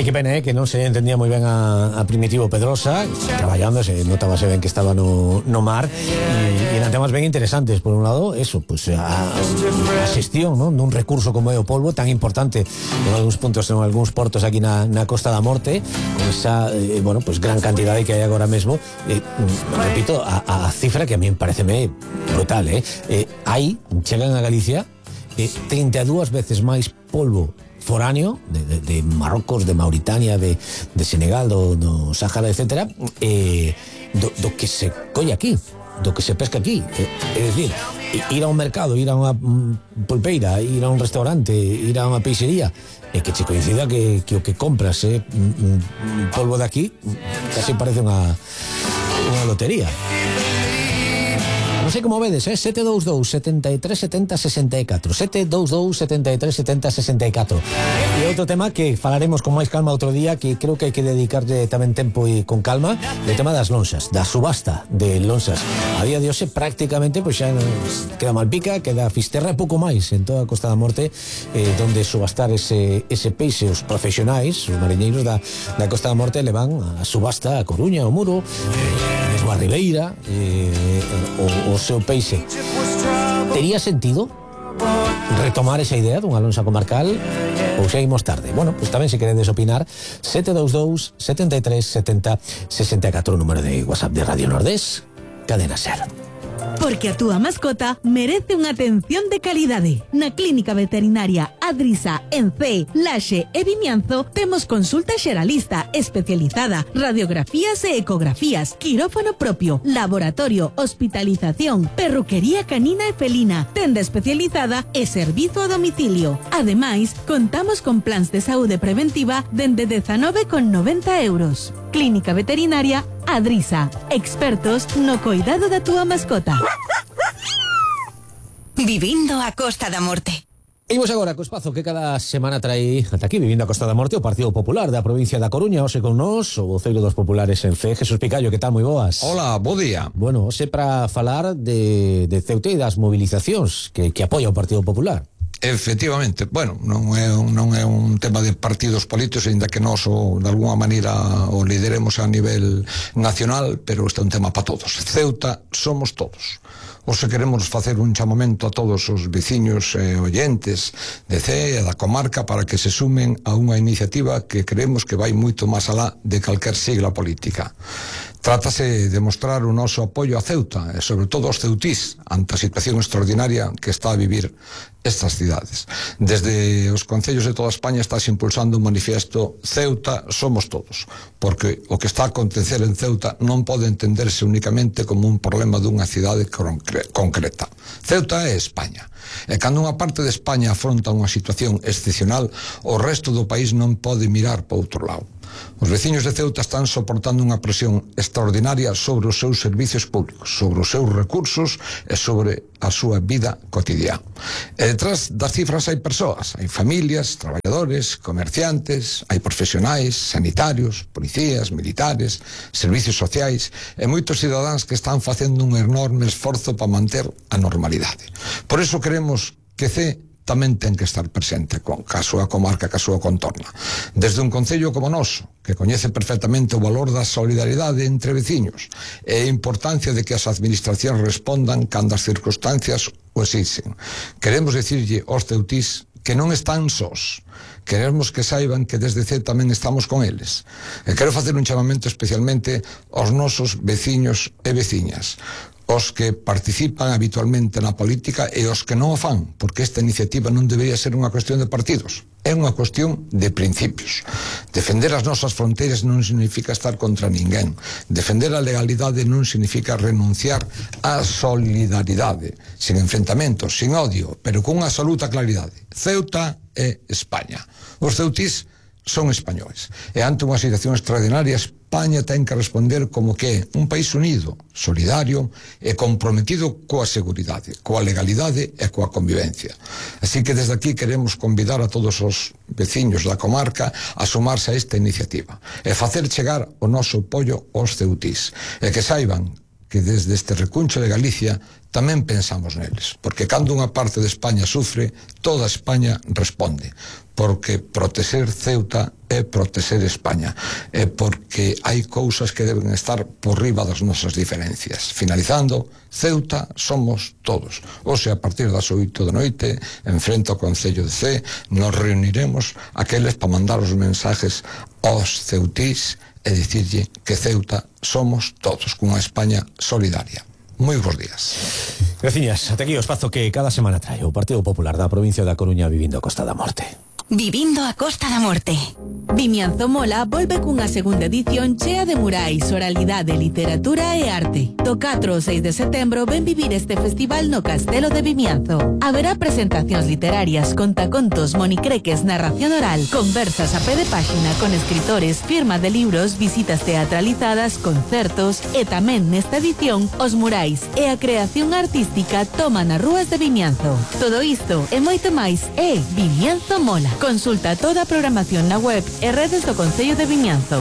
Ai, que pena, que non se entendía moi ben a Primitivo Pedrosa traballando, notábase ben que estaba no mar e eran temas ben interesantes. Por un lado, eso, pues a xestión, non, dun recurso como é o polvo tan importante en algúns puntos, en algúns portos aquí na Costa da Morte, con esa, bueno, pues gran cantidade que hai agora mesmo. Repito, a cifra que a mí pareceme brutal, hai, chegan a Galicia 32 veces máis polvo foráneo de Marrocos, de Mauritania, de Senegal, do Sáhara, etcétera, do que se colle aquí, do que se pesca aquí. É dicir, ir a un mercado, ir a unha pulpeira, ir a un restaurante, ir a unha peixería, e que che coincida que o que compras é polvo de aquí, casi parece unha lotería. Non sei como vedes, 722 73 70 64 722 73 70 64. E outro tema que falaremos con máis calma outro día, que creo que hai que dedicarle tamén tempo e con calma, o tema das lonxas, da subasta de lonxas. A día de hoxe prácticamente pois xa queda Malpica, queda Fisterra e pouco máis en toda a Costa da Morte, donde subastar ese peixe. Os profesionais, os mariñeiros da Costa da Morte levan a subasta a Coruña, o Muro, mesmo a Ribeira, o seu peixe. Tería sentido retomar esa idea dunha lonxa comarcal ou seguimos tarde? Bueno, pues tamén se queredes opinar, 722 73 70 64, o número de WhatsApp de Radio Nordés, Cadena Ser. Porque a túa mascota merece unha atención de calidade. Na Clínica Veterinaria Adrisa, en Cee, Laxe e Vimianzo temos consulta xeralista especializada, radiografías e ecografías, quirófano propio, laboratorio, hospitalización, perruquería canina e felina, tenda especializada e servizo a domicilio. Ademais, contamos con plans de saúde preventiva dende 19,90 euros. Clínica Veterinaria Adrisa, expertos no coidado da túa mascota. Vivindo a Costa da Morte. Imos agora co espazo que cada semana trae ata aquí, Vivindo a Costa da Morte, o Partido Popular da provincia da Coruña. Hoxe con nós o voceiro dos populares en Cee, Jesús Picallo. Que tal, moi boas? Hola, bo día. Bueno, hoxe para falar de Ceuta e das movilizacións que apoia o Partido Popular. Efectivamente, bueno, non é un tema de partidos políticos, ainda que nós de alguna maneira o lideremos a nivel nacional, pero este é un tema para todos. Ceuta somos todos. Hoxe queremos facer un chamamento a todos os veciños e oyentes de Cee e da comarca para que se sumen a unha iniciativa que creemos que vai moito máis alá de calquer sigla política. Trátase de mostrar o noso apoio a Ceuta e sobre todo aos ceutís ante a situación extraordinaria que está a vivir estas cidades. Desde os concellos de toda España estás impulsando un manifiesto Ceuta somos todos, porque o que está a acontecer en Ceuta non pode entenderse únicamente como un problema dunha cidade concreta. Ceuta é España. E cando unha parte de España afronta unha situación excepcional, o resto do país non pode mirar para outro lado. Os veciños de Ceuta están soportando unha presión extraordinaria sobre os seus servicios públicos, sobre os seus recursos e sobre a súa vida cotidiana. E detrás das cifras hai persoas, hai familias, traballadores, comerciantes, hai profesionais, sanitarios, policías, militares, servicios sociais e moitos cidadáns que están facendo un enorme esforzo para manter a normalidade. Por iso queremos que Cee tamén ten que estar presente ca súa comarca, ca súa contorna. Desde un concello como noso, que coñece perfectamente o valor da solidaridade entre veciños e a importancia de que as administracións respondan cando as circunstancias o exixen. Queremos dicirlle aos ceutís que non están sós. Queremos que saiban que desde Cee tamén estamos con eles. E quero facer un chamamento especialmente aos nosos veciños e veciñas, os que participan habitualmente na política e os que non o fan, porque esta iniciativa non debería ser unha cuestión de partidos, é unha cuestión de principios. Defender as nosas fronteiras non significa estar contra ninguén. Defender a legalidade non significa renunciar á solidaridade, sin enfrentamentos, sin odio, pero con unha absoluta claridade. Ceuta é España. Os ceutís son españoles. E ante unha situación extraordinaria, España ten que responder como que é un país unido, solidario e comprometido coa seguridade, coa legalidade e coa convivencia. Así que desde aquí queremos convidar a todos os veciños da comarca a sumarse a esta iniciativa e facer chegar o noso apoio aos ceutís e que saiban que desde este recuncho de Galicia tamén pensamos neles, porque cando unha parte de España sufre, toda España responde. porque protexer Ceuta é protexer España, é porque hai cousas que deben estar por riba das nosas diferencias. Finalizando, Ceuta somos todos. Hoxe, a partir das 8 da noite, en frente ao Concello de Cee, nos reuniremos aqueles para mandar os mensajes aos ceutís e dicirlle que Ceuta somos todos, cunha España solidaria. Moi bons días. Graciñas, ate aquí o espazo que cada semana trae o Partido Popular da provincia da Coruña vivindo a Costa da Morte. Vivindo a Costa da Morte. Vimianzo Mola volve cunha segunda edición chea de murais, oralidade, literatura e arte. Do 4 ao 6 de setembro ven vivir este festival no Castelo de Vimianzo. Haberá presentacións literarias, contacontos, monicreques, narración oral, conversas a pé de páxina con escritores, firma de libros, visitas teatralizadas, concertos e tamén nesta edición os murais e a creación artística toman as rúas de Vimianzo. Todo isto e moito máis é Vimianzo Mola. Consulta toda a programación na web e redes do Concello de Vimianzo.